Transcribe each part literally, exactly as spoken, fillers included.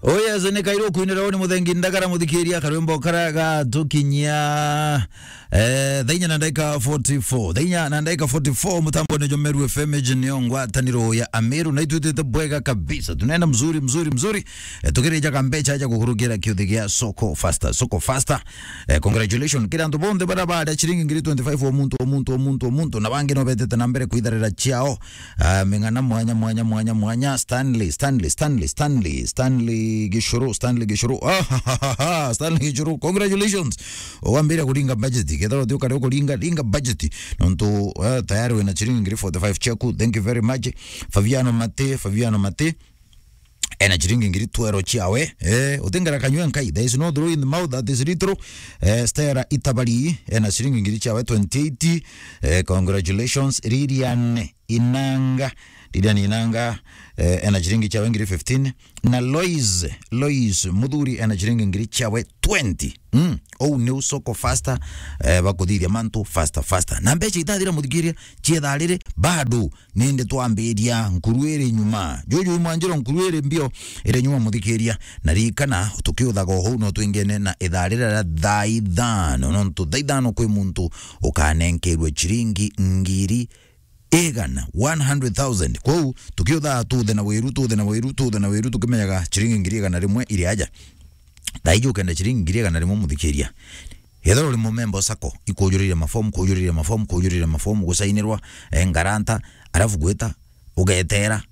Oh yes, ni kairo kwinira ni Muthengi Ndagara, muthikiria karwimbo kara gatukinyia, eh, thaa inya na ndagika forty-four. Thaa inya na ndagika forty-four, mutambone jwa Meru F M, iji niyo ngwataniro ya Ameru, na itwitite bwega kabisa. Tunaenda mzuri, mzuri, mzuri. Eh, tukirijaga mbecha aja kukurukira kiuthi gia Soko Faster. Soko Faster. Eh, congratulations. Kiri antu bonthe bara baria ciringi ngiri twenty-five o muntu, o muntu, o muntu, o muntu. Na bangi no betete na mbere kwitharira ciao. Ah, ming'ana mwanya, mwanya, mwanya, mwanya. Stanley, Stanley, Stanley, Stanley, Stanley Gishuru, Stanley Gishuru. Ah, ha, ha, ha, ha, Stanley Gishuru, congratulations. Wambire kuringa budget. Kethira uti ukare ukuringa, ringa budget. Nontu, eh, tayari wina ciringi ngiri forty-five ciaku. Thank you very much. Fabiano Mate, Fabiano Mate. Ena ciringi ngiri twero ciawe. Eh, utingera kanywe nkai. There is no draw in the mouth that is little. Eh, Stella Itabari, ena ciringi ngiri ciawe twenty-eight. Eh, congratulations. Lilian Inanga. Lilian Inanga, eh, ena ciringi ciawe ngiri fifteen. Na Lois, Lois Muthuri, ena ciringi ngiri ciawe twenty. Mm. Ou ni Soko Faster, eh, bakuthithia mantu faster, faster. Na mbecha itathira, muthikiria, cietha riri, bado nindi twambiria, nkuru iri nyuma. Juju mwanjiro, nkuru iri mbio, iri nyuma, muthikiria. Na ririkana, tukiuthaga uhou no twingene na ithaa riria ria thaa ithano, nontu thaa ithano kwi muntu ukanenkerwe ciringi ngiri igana, one hundred thousand. Kwou, tukiuthaa tuthe na wiru, tuthe na wiru, tuthe na wiru, tukimenyaga ciringi ngiri igana rimwe iri aja. Thaa iji ukenda ciringi ngiri igana rimwe, muthikiria. Ethirwa uri mumemba o sacco, ikujurire mafomu, kujurire mafomu, kujurire mafomu, gusainirwa, eh, ngaranta, arafu gwita, ugetera,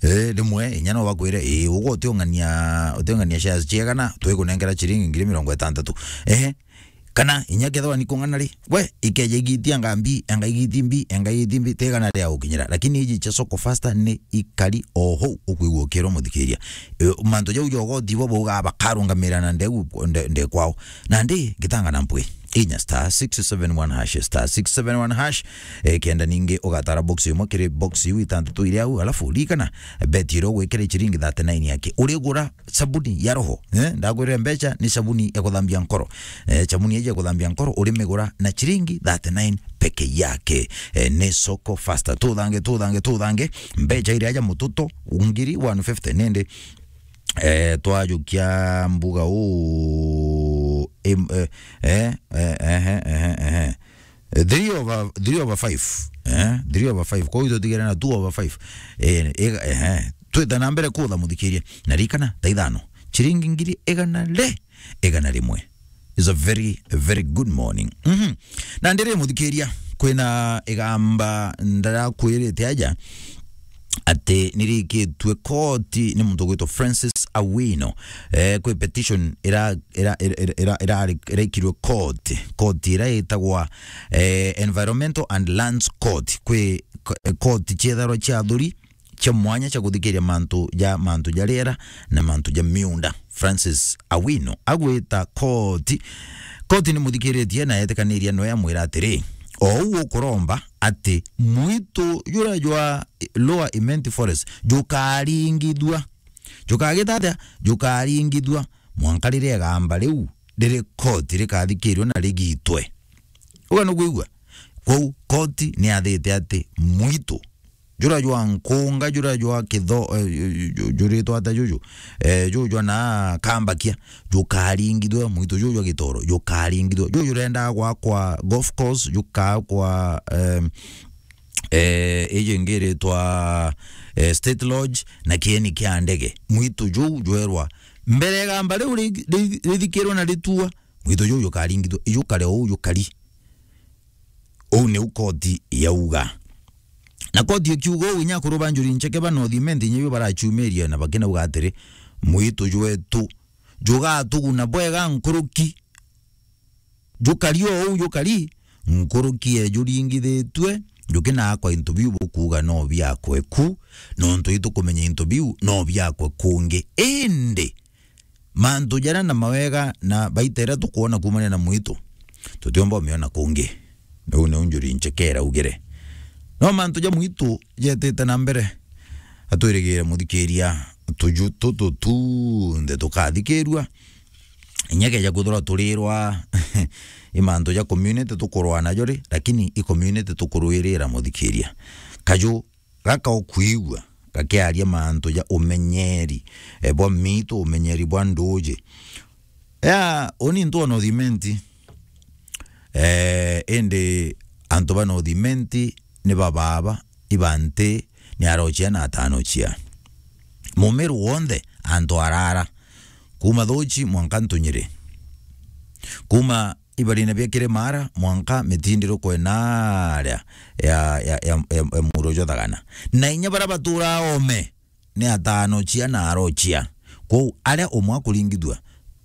eh, rimwe, inya no bakwire, "Ii, ugu utiung'ania, utiung'ania shares ciegana, twikunengera ciringi ngiri mirongo itantatu." Ehe, kana inya kethirwa ni kung'ana ri, we, ikeja igitia ngambi, enga igiti mbi, enga igiti mbi, tigana ria gukinyira. Lakini iji cia Soko Faster ni ikari o hou ukwigua ukirwa, muthikiria. E, mantu jau ja ugoti bo baugaa bakarungamira na ndeu, nde, nde kwao. Nandi ngitanga na mpwi. Inya star six seven one hash, star six seven one hash. E, kenda ningi ugatara box imwe kiri box iu itantatu iri au, alafu ririkana, beti iria ugwikira ciringi thirty-nine yake. Urigura sabuni ya roho, eh? Ndakwirire mbecha ni sabuni ya kuthambia nkoro. Eh, sabuni iji ya kuthambia nkoro urimigura na ciringi thirty-nine peke yake. Eh, ni Soko Faster. Tuthange, tuthange, tuthange. Mbecha iria aja mututo, ngiri one fifty nindi. Eh, twajukia mbuga uu, em, eh, eh, eh, eh, eh, eh, eh. Eh, three over, three over five. Eh? Three over five. Kwa hiyo tutigere na two over five. Eh, eh, eh, eh. Twita na mbere kutha, muthikirie. Na ririkana, thaa ithano. Ciringi ngiri igana ri-, igana rimwe. It's a very, a very good morning. Mhm. Na ndiri, muthikiria, kwina igamba ndarakwirite aja ati nirikitwe koti ni muntu ugwitwa Francis Awino. Eh, kwi petition ira, ira, ira, ira, ira, ira, iraikirwe court, court ira itagwa, eh, Environmental and Lands Court, kwi ko-, court cietharwa cia athuri cia mwanya cia kuthikiria mantu ja, mantu ja riera na mantu ja miunda. Francis Awino agwita court, court ni muthikiritie na etikaniria no yamwira atiri, ou ukuromba ati mwitu jura jwa Lower Imenti Forest jukaringithua. Jukagita atia? Jukaringithua mwanka riria igamba riu riri koti rikathikirwe na rigitwe. Uga nukwigua? Kwou koti ni yathite ati mwitu jura jwa nkunga, jura jwa kitho, eh, ju-, ju-, juritwa atia juju? Eh, juju jwa na kambakia, jukaringithua, mwitu juju jwa gitoro, jukaringithua. Juju jurenda gwakwa golf course, jukakwa, em, eh, iji ingi iritwa, eh, State Lodge na kieni kia ndege. Mwitu juu jwerwa mbere igamba riu ri-, ri-, rithikirwe na ritua, mwitu juu jukaringithua, jukare uu jukari. Uu niu koti yauga. Na koti ikiuga uu, inya akuru ba Njuri Ncheke ba North Imenti inya ibo barachumiria na bakinauga atiri, mwitu jwetu jugatuguna bwega nkuruki. Jukari o uu jukari, nkuruki e juringithitue, jukinakwa into biu bukuuga no biakwe ku, nontu itukumenya into biu no biakwe kungi. Indi mantu jaria na mawega na baita iria tukwona kuumania na mwitu, tutiumba umiona kungi. Uu niu Njuri Ncheke iraugire. No mantu ja mwitu jetite na mbere, atwirigire muthikiria, tuju tutu tunthe tukathikirua. Inya keja kwithirwa turirwa i mantu ja community tukurwa najo ri, lakini i community tukurwirira, muthikiria. Kaju gaka ukwigua, gakiaria mantu ja umenyeri, eh, bwa miitu, umenyeri bwa nduuji. Ya, uni ntu ona uthimenti. Eh, indi antu ba North Imenti ni ba baaba, iba nti, ni arochia na atanochia. Mumiru wonthe antu arara, kuuma Thuchi mwanka Ntunyiri, kuuma ibarine bia Kirimara mwanka Mitindiru kwena aria ya, ya, ya, ya, ya muro jwa Thagana. Na inya baria baturaa oome, ni atanochia na arochia. Kwou aria umwe akuringithua,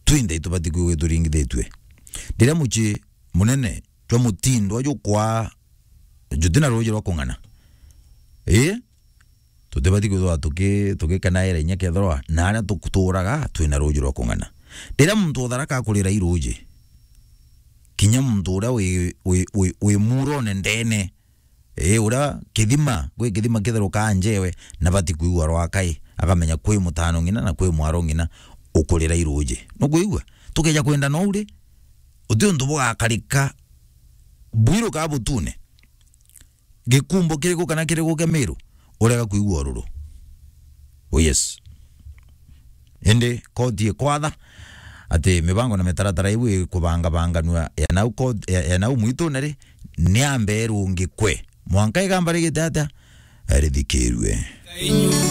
twinthe itubati kwigua ituringithitue. Riria mucii munene jwa mutindwa jukwaa jutina ruuji rwa kung'ana, ii, tutibati kwithirwa tuki-, tukikenaira inya kethirwa na aria tutuuraga twina ruuji rwa kung'ana. Riria muntu utharaka akurira i ruuji, kinya muntu uria wi, wi, wi, wi muurone ndene, ii, uria kithima, gwi kithima kitherukaa njewe, nabati kwigua rwakai, akamenya kwi mutano ng'ina na kwi mwaro ng'ina ukurira i ruuji. Nukwigua? Tukeja kwenda nou ri, uti untu bugakarika bwiru kaa butune, gikumbo kiriku kana kiriku kia Miru, urega kwigua ururu. Oh yes. Indi koti ikwatha ati mibango na mitaratara iu ikubangabanganua ya nau koti, ya, ya nau mwitune ri, ni ambe irungikwe. Mwanka igamba rigite atia? Rithikirue.